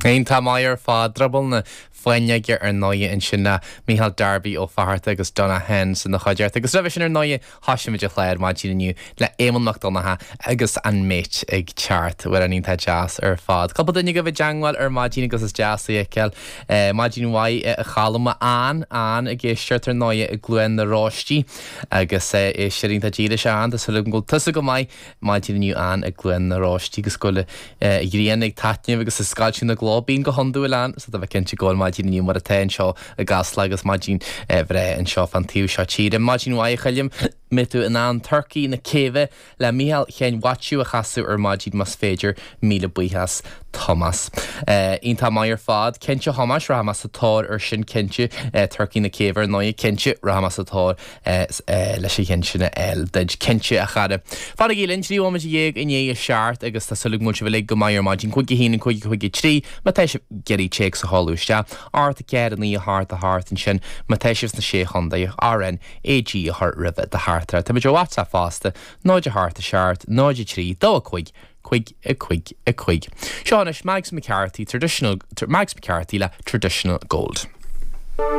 Iontach maith ar fad. Drioball na Fáinneoige ar ndóighe ansin le Micheál Darby Ó Fatharta agus Donagh Hens ina chuideachta. Agus roimhe sin ar ndóighe thoisigh muid an chlár maidin inniu le Éamonn Mac Donncha agus an Mate ag teacht. Amhrán iontach deas ar fad. Cúpla duine agaibh i dteangmháil ar maidin agus is deas é a fheiceáil. Maidin mhaith a Cholm, Ann, Ann ag éisteacht ar ndóighe i gCluain na Róistí agus éisteoir iontach dílis Ann. Tá súil agam go bhfuil tusa go maith maidin inniu Ann i gCluain na Róistí agus go bhfuil an ghrian ag taitneamh agus ag scoilteadh na gcló. Bíonn go hiondúil Ann so tá mé cinnte go bhfuil maidin inniu mar atá anseo i gCasla agus maidin bhreá anseo fán taobh seo tíre. Maidin mhaith a Choilm, mbeidh tú in ann Turcaí na Céibhe le Mícheál Sheáin Mhaitiú a chasadh ar maidin más féidir, míle buíochas Tomás. Iontach maith ar fad. Cinnte Thomáis, rachaidh mé sa tóir ar sin cinnte. Turcaí na Céibhe ar ndóighe, cinnte, rachaidh mé sa tóir leis an cheann sin a fháil duit. Cinnte, a chara. Fanaigí linn, 13 bhomaite i ndiaidh a 7 agus tá súil agam go bhfuil sibh uilig go maith ar maidin. 5 1 5 5 3 má tá sibh ag iarraidh téacs a sheoladh isteach. 8 4 9 8 8 ansin má tá sibh sna Sé Chontae, R N A G a chur roimhe do theachtaireacht. Táimid ar WhatsApp fosta, 0 8 7 0 3 2 5 5 5 5. Seo anois Mags McCarthy, Traditional, Mags McCarthy le Traditional Gold.